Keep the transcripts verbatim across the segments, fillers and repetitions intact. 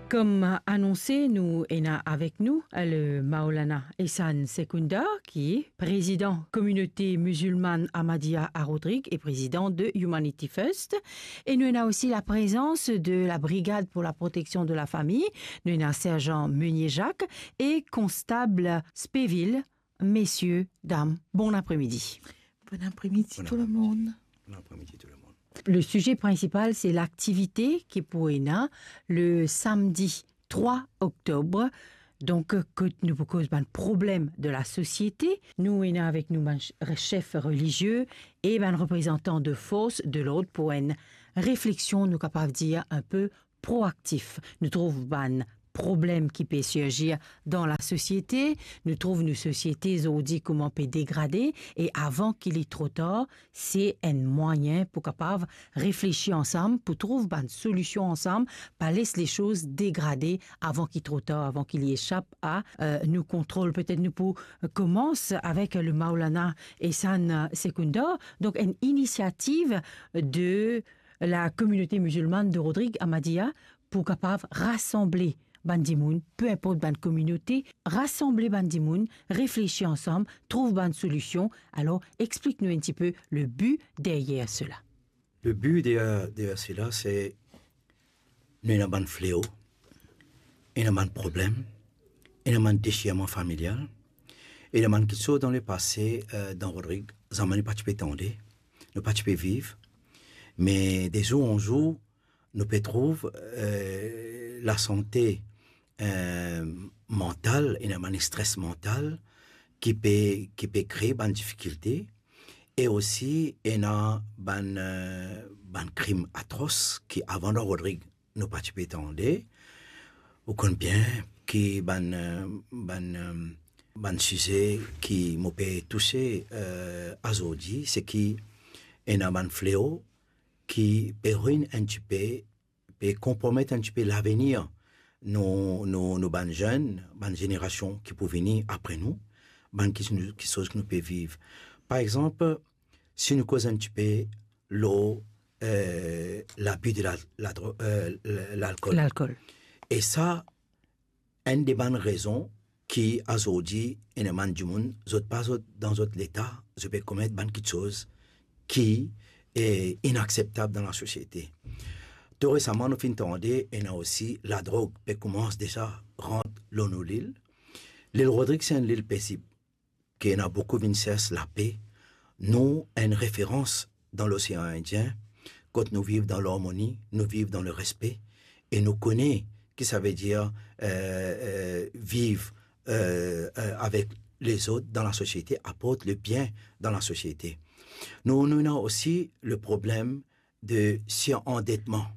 Kom anonse, nou ena avek nou le Maulana Ehsan Sekunda, ki prezidan kominote mizilmann Ahmadiyya a Rodrig e prezidan de Humanity First. E nou ena osi laprezans de la Brigade pour la Protection de la Famille. Nou ena Serzan Meunier Jacques e Konstab Speville. Mesie, dam, bon apremidi. Bon apremidi. Bon apremidi tou lemonn. Bon apremidi tou lemonn. Le size prinsipal, se laktivite ki pou ena le samdi trwa oktob. Donk, kot nou pou koz bann problem de lasosiete, nou ena avek nou bann ch-, sef relizie e bann reprezantan de fors de lord pou enn refleksion, nou kapav dir, enpe proaktif. Nou trouv bann problem ki pe sirzir dan lasosiete, nou trouv nou sosiete zordi kouma pe degrade, e avan ki li tro tar, se enn mwayin pou kapav reflesi ansam, pou trouv bann solision ansam, pa les lesoz degrade avan ki tro tar, avan ki li esap a, eh, nou kontrol. Petet nou pou, eh, komans avek le Maulana Ehsan, eh, Sekunda. Donk, enn inisiativ de la kominote mizilmann de Rodrig Ahmadiyya pou kapav rasanble bann dimoun, pe inport bann kominote, rasanble bann dimoun, reflesi ansam, trouv bann solision. Alor, explik nou enn tipe le bi deryer sela. Le bi deryer, deryer sela, se nou ena bann fleo, ena bann problem, ena bann desirman familial, ena bann kiksoz dan lepase, eh, dan Rodrig, zame nou pa ti pe tande, nou pa ti pe viv, me de zour an zour, nou pe trouv, eh, lasante, eh, mantal, ena bann stres mantal ki pe, ki pe kree bann difikilte, e osi ena bann, eh, bann krim atros ki avan dan Rodrig nou pa ti pe tande, ou konn bien ki bann, eh, bann, eh, bann size ki mo pe touse, eh, azordi, se ki ena bann fleo ki pe ruinn enn tipe, pe konpromet enn tipe lavenir nou, nou, nou bann zenn, bann zenerasion ki pou vini apre nou, bann ki, kiksoz ki nou pe viv. Par exanp, si nou koz enn tipe lor, eh, labi de la, la dro-, eh, lalkol. Lalkol. E sa, enn de bann rezon ki azordi ena bann dimoun, zot pa zot dan zot leta, zot pe komet bann kiksoz ki, eh, inakseptab dan lasosiete. Tou resaman, nou finn tande, ena osi ladrog pe koumans deza rant lor nou lil. Lil Rodrig se enn lil pezib, ki ena boukou vinn sers lape. Nou enn referans dan Losean Indien, kot nou viv dan larmoni, nou viv dan lerespe, e nou kone ki savedir, eh, eh, viv, eh, eh, avek lezot dan lasosiete, aport lebien dan lasosiete. Nou, nou ena osi le problem de sirandetman.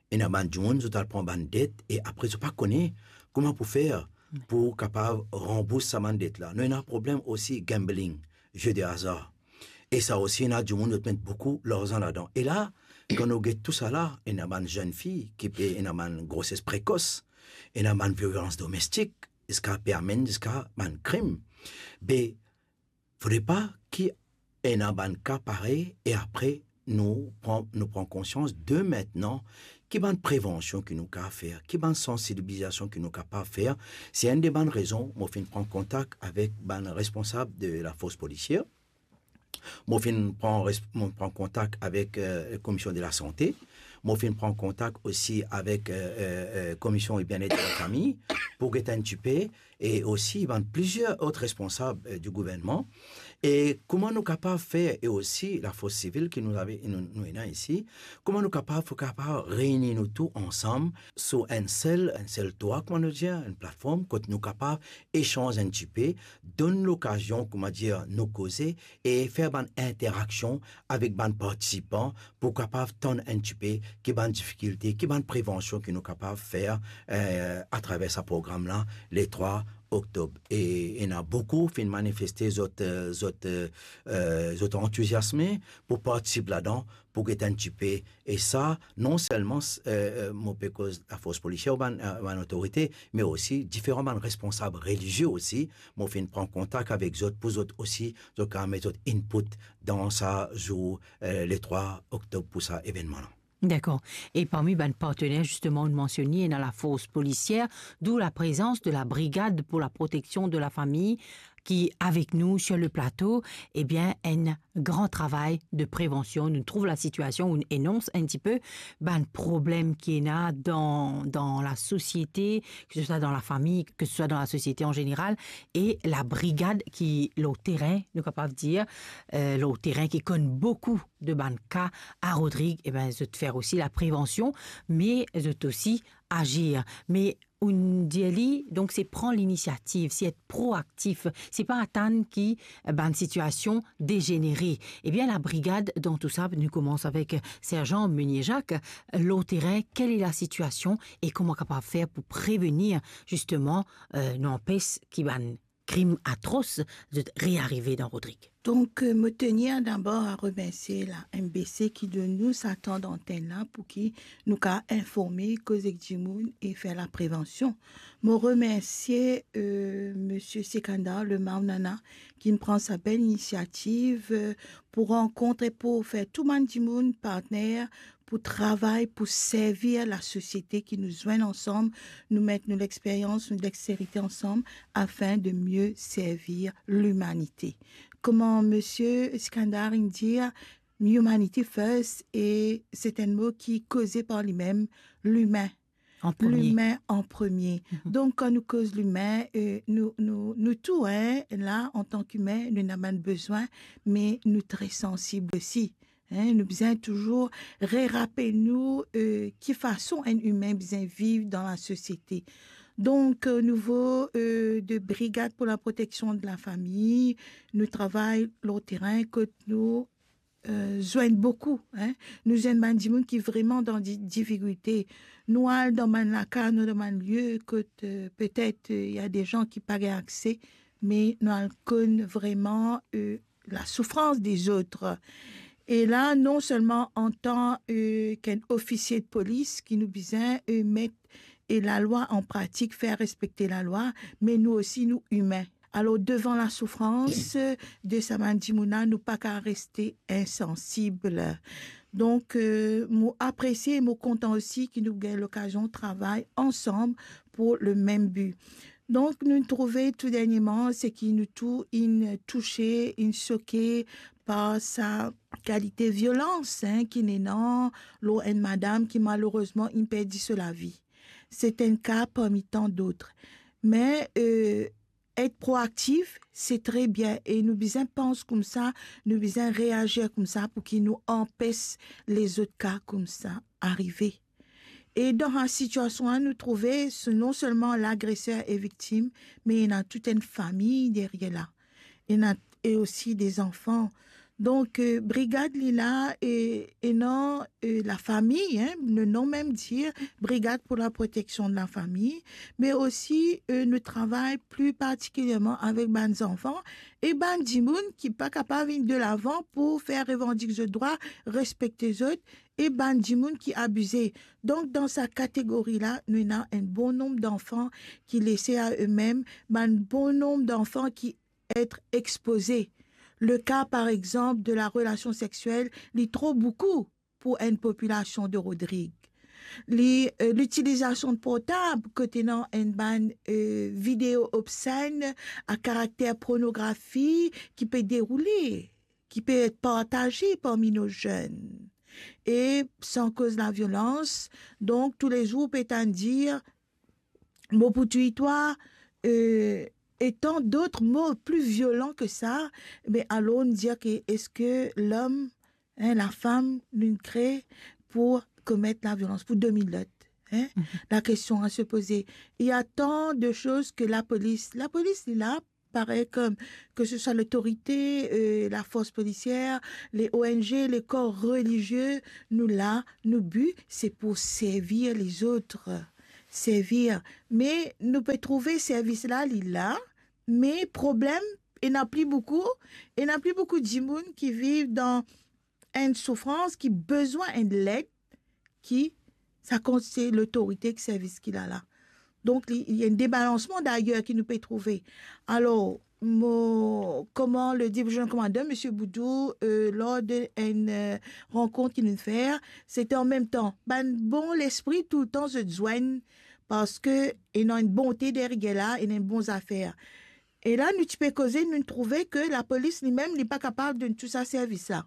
Ena bann dimoun, zot al pran bann det e apre zot pa kone kouma pou fer pou kapav ranbours sa bann det la. Nou ena problem osi gambling, jeu de hasard. E sa osi, ena dimoun, zot met boukou larzan ladan. E la, kan nou get tousala, ena bann zenn fi ki pe, ena bann groses prekos, ena bann violans domestik, ziska pe amenn ziska bann krim. Be, fode pa ki ena bann ka parey e apre nou pran, nou pran konsians de mintnan ki bann prevansion ki nou kapav fer, ki bann sansibilizasion ki nou kapav fer. Se enn de bann rezon mo finn pran kontak avek bann responsab de lafors polisier. Mo finn pran res-, mo pran kontak avek, eh, Komisyon de la Sante. Mo finn pran kontak osi avek, eh, eh, eh, Komisyon Bienet de la Fami pou get enn tipe e osi bann plizier lot responsab, eh, di gouvernman. E kouma nou kapav fer, e osi lafors sivil ki nou ave, nou, nou ena isi, kouma nou kapav, pou kapav reyini nou tou ansam sou enn sel, enn sel twa, kouma nou dir, enn platform kot nou kapav esanz enn tipe, donn lokazion, kouma dir, nou koze e fer bann interaksion avek bann partisipan pou kapav tann enn tipe ki bann difikilte, ki bann prevansion ki nou kapav fer, eh, atraver sa program la, le trwa oktob. E ena boukou finn manifeste zot, eh, zot, eh, eh, zot antiziasme pou partisip ladan, pou get enn tipe. E sa, non selman, eh, eh, mo pe koz lafors polisier ou bann, eh, bann otorite, me osi diferan bann responsab relizie osi, mo finn pran kontak avek zot pou zot osi, zot kapav met zot input dan sa zour, eh, le trwa oktob pou sa evennman la. Dakor. E parmi bann partener, zisteman, ou mansione, ena la fors polisier, d'où la prezans de la Brigade pour la protection de la famille, ki avek nou sur le plateau, ebien, enn gran travay de prevansion. Nou trouv lasitiasion, ou enons enn tipe bann problem ki ena dan, dan lasosiete, ke se swa dan lafami, ke se swa dan lasosiete an zeneral, e la brigad ki lor terin, nou kapav dir, eh, lor terin, ki konn boukou de bann ka a Rodrig, ebien, zot fer osi la prevansion, me zot osi azir. Me ou dir li, donk, se pran linisiativ, se et proaktif, se pa atann ki, eh, bann sitiasion dezenere. Ebien, la brigad dan tou sa, nou koumans avek, eh, Serzan Meunier Jacques, eh, lor terin, kele lasitiasion e kouma kapav fer pou prevenir, zisteman, eh, nou anpes ki bann krim atros zot rearive dan Rodrig. Donk, eh, mo tenir dabor a remersie la M B C ki donn nou sa tan dantenn la pou ki nou kapav informe, koz ek dimoun e fer la prevansion. Mo remersie, eh, Misie Sikandar, le Maunana, ki pran sa bel inisiativ, eh, pou rankont e pou fer tou bann dimoun partner pou travay, pou servi lasosiete ki nou zwenn ansam, nou met nou lexperyans, nou dexterite ansam, afin de mie servi limanite. Kouma Misie Sikandar inn dir, humanity first, e se enn mo ki koze par limem, limin. An premie. Limin an premie. Mhm. Donk, kan nou koz limin, eh, nou, nou, nou tou, hein, la, antan ki imin, nou ena bann bezwin, me nou tre sansib osi. Hein, nou bizin touzour rerapel nou, eh, ki fason enn imin bizin viv dan lasosiete. Donk, o nivo, eh, de Brigad pour la protection de la famille, nou travay lor terin kot nou, eh, zwenn boukou, hein. Nou zwenn bann dimoun ki vreman dan di-, difikilte. Nou al dan bann lakaz, nou dan bann lie kot, eh, petet, eh, ena de zan ki pa gagn akse, me nou al konn vreman, eh, lasoufrans dezot. E la, non selman antan, eh, ki enn ofisie de polis ki nou bizin, eh, met, eh, lalwa an pratik, fer respekte lalwa, me nou osi, nou imin. Alor, devan lasoufrans, eh, de sa bann dimoun la, nou pa kapav reste insansib. Donk, eh, mo apresie, mo kontan osi ki nou gagn lokazion travay ansam pou lemem bi. Donk, nou trouve tou dernieman, seki nou tou inn touse, inn soke par sa kalite violans, hein, ki ena lor enn madam ki malerezman inn perdi so lavi. Se enn ka parmi tan dot. Me, eh, et proaktif, se tre bien e nou bizin pans koumsa, nou bizin reazir koumsa pou ki nou anpes lezot ka koumsa arive. E dan sa sitiasion la, nou trouve, se non selman lagreser e viktim, me ena tou enn fami deryer la. Ena, e osi de zanfan. Donk, eh, brigad li la, e, ena, eh, lafami, hein, le nom même dit, Brigade pour la protection de la famille, me osi, eh, nou travay pli partikilierman avek bann zanfan e bann dimoun ki pa kapav vinn delavan pou fer revandik zot drwa, respekte zot, e bann dimoun ki abize. Donk, dan sa kategori la, nou ena enn bon nonb danfan ki lese a eux-mêmes, bann bon nonb danfan ki et expoze. Le ka, par exanp, de la relasion sexiel, li tro boukou pou enn popilasion de Rodrig. Li, eh, litilizasion de portab, kot ena enn bann, eh, video obsen a karakter pornografi ki pe deroule, ki pe et partaze parmi nou zenn. E san koz laviolans, donk, toulezour pe tann dir, mo pou touy twa, eh, e tan dot mo pli violan ki sa, me alor nou dir ki eski lom, hein, lafam, nou kre pou komet laviolans, pou domin lot, hein? Mhm. La question à se poser. Il y a tant de choses que la police, la police, li la, parey kom, ke se swa lotorite, eh, lafors polisier, le O N G, le kor relizie, nou la, nou bi, se pou servi lezot. Servi. Me nou pe trouve servis la, li la, me problem, ena pli boukou, ena pli boukou dimoun ki viv dan enn soufrans, ki bizin enn led, ki sa kont se lotorite ki servi ki la la. Donk, li, li ena enn debalansman dayer ki nou pe trouve. Alor, mo, koman le dir, mo komandan, Misie Boudou, euh, lor de enn, euh, rankont ki nou fer, sete an mem tan, bann bon lespri toultan zot zwenn, parski ena enn bonte deryer la, ena enn bon zafer. E la, nou ti pe koze, nou trouve ke lapolis limem, li pa kapav donn tou sa servis la.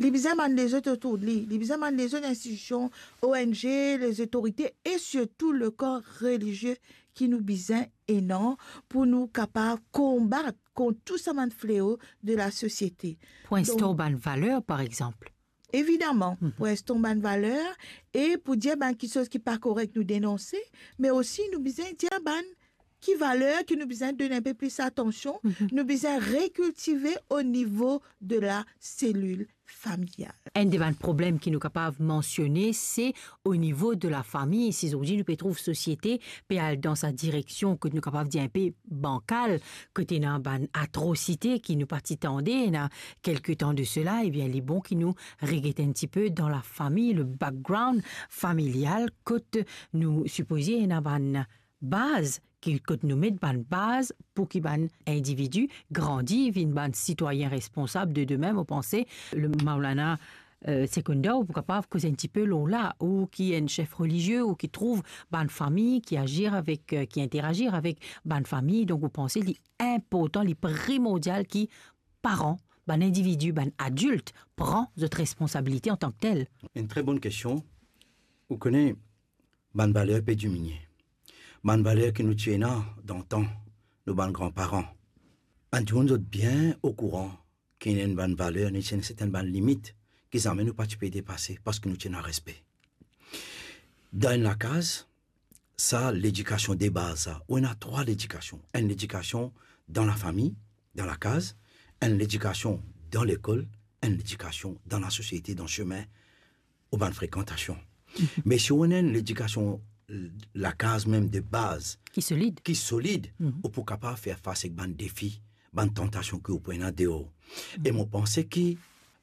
Li bizin bann lezot otour de li, li bizin bann lezot institision, O N G, lezotorite e sirtou lekor relizie ki nou bizin ena pou nou kapav konbat kont tou sa bann fleo de lasosiete. Pou instor bann valer, par exanp. Evidaman, pou instor bann valer e pou dir bann kiksoz ki pa korek, nou denonse, me osi nou bizin dir bann ki valer ki nou bizin donn enpe plis atansion, nou bizin rekiltive o nivo de laselil familial. Enn de bann problem ki nou kapav mansione, se o nivo de lafami. Si zordi nou pe trouv sosiete pe al dan sa direksion kot nou kapav dir enpe bankal, kot ena bann atrosite ki nou pa ti tande ena kelke tan de sela, ebien, li bon ki nou reget enn tipe dan lafami, le background familial, kot nou sipoze ena bann baz, ki, kot nou met bann baz pou ki bann individi grandi, vinn bann sitwayin responsab de demin. Mo panse, le Maulana, euh, Sekoundar, ou pou kapav koz enn tipe lor la, ou ki enn sef relizie, ou ki trouv bann fami ki azir avek, euh, ki interagir avek bann fami. Donk, ou panse li inportan, li primordial ki paran, bann individi, bann adilt pran zot responsabilite antan ki tel? Enn tre bonn kestion. Ou kone, bann valer pe diminie. Bann valer ki nou ti ena dan tan, nou bann granparan. Bann dimoun zot bien okouran ki ena enn bann valer, ena enn sertenn bann limit ki zame nou pa ti pe depase, parski nou ti ena respe. Dan enn lakaz, sa ledikasion de baz sa, ou ena trwa ledikasion. Enn ledikasion dan lafami, dan lakaz, enn ledikasion dan lekol, enn ledikasion dan lasosiete, dan semin, ou bann frekantasion. Me si ou ena enn ledikasion, l-, lakaz mem de baz ki solid, ki solid, ou pou kapav fer fas ek bann defi, bann tantasion ki ou pou ena deor. E mo panse ki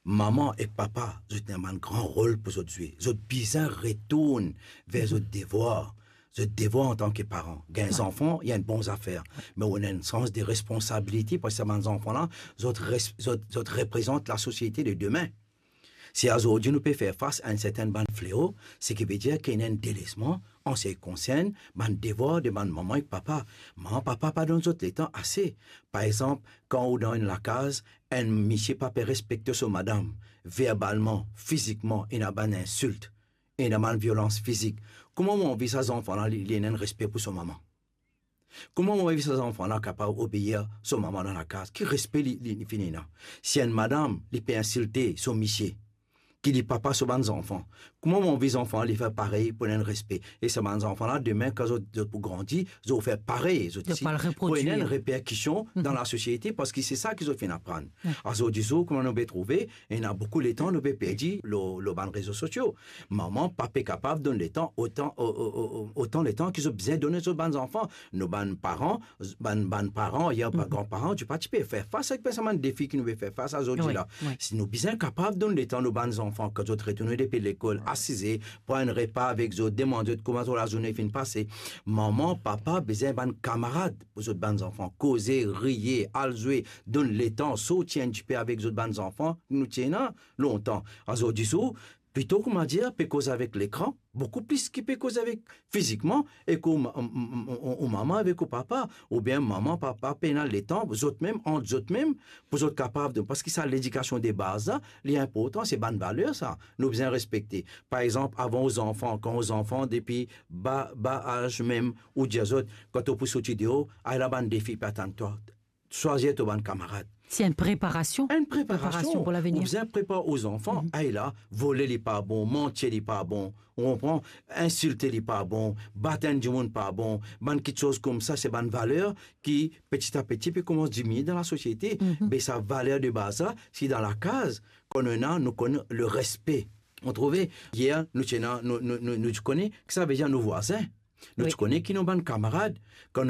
mama ek papa, zot ena bann gran rol pou zot zwe. Zot bizin retourn ver zot devwar. Zot devwar antan ki paran. Gagn zanfan, li enn bon zafer. Me ou ena enn sans de responsabilite, parski sa bann zanfan la, zot res-, zot, zot reprezant lasosiete de demin. Si azordi nou pe fer fas a enn sertenn bann fleo, seki vedir ki ena enn delesman an se ki konsern bann devwar de bann mama ek papa. Mama, papa pa donn zot letan ase. Par exanp, kan ou dan enn lakaz, enn misie pa pe respekte so madam, verbalman, fizikman, ena bann insilt, ena bann violans fizik. Kouma ou anvi sa zanfan la, li, li ena enn respe pou so mama? Kouma ou anvi sa zanfan la kapav obeir so mama dan lakaz? Ki respe li, li, li finn ena? Si enn madam, li pe insilte so misie, ki li papa so bann zanfan, kouma ou anvi zanfan li fer parey pou ena enn respe? E sa bann zanfan la, demin, kan zot, zot pou grandi, zot fer parey, zot osi, pou ena enn reperkision dan lasosiete, parski se sa ki zot finn aprann. Azordi zour, kouma nou pe trouve, ena boukou letan nou pe perdi lor, lor bann rezo sosio. Mama, papa pa pe kapav donn letan otan, o-, o-, o-, o-, otan letan ki zot bizin donn zot bann zanfan. Nou bann paran, bann, bann paran, ayer pa granparan, ti pa ti pe fer fas avek sa bann defi ki nou pe fer fas azordi la. Si nou bizin kapav donn letan nou bann zanfan, kan zot retourne depi lekol, asize, pran enn repa avek zot, demann zot kouma zot lazourne finn pase. Mama, papa bizin bann kamarad pou zot bann zanfan, koze, riye, al zwe, donn letan, sorti enn tipe avek zot bann zanfan, nou ti ena lontan. Azordi zour, plito, kouma dir, pe koz avek lekran, boukou plis ki pe koz avek fizikman, ek ou ma-, ou, ou, ou, ou mama avek ou papa, oubien mama, papa pena letan, zot mem, ant zot mem, pou zot kapav de, parski sa ledikasion de baz la, li inportan, se bann valer sa, nou bizin respekte. Par exanp, avan ou zanfan, kan ou zanfan depi ba, ba az mem, ou dir zot, kan to pou sorti deor, ala bann defi pe atann twa, swazir to bann kamarad. Se enn preparasion. Enn preparasion. Preparasion pou lavenir. Ou bizin prepar ou zanfan, ay la, vole li pa bon, manti li pa bon, ou konpran, insilte li pa bon, bat enn dimoun pa bon, bann kiksoz koumsa, se bann valer ki, peti a peti, pe koumans diminie dan lasosiete. Me sa valer de baz la, si dan lakaz, kan nou ena, nou konn le respe. Ou trouve, yer, nou ti ena, nou, nou, nou, nou ti kone, ki sa vedir nou vwazin. Nou ti kone ki nou bann kamarad. Kan nou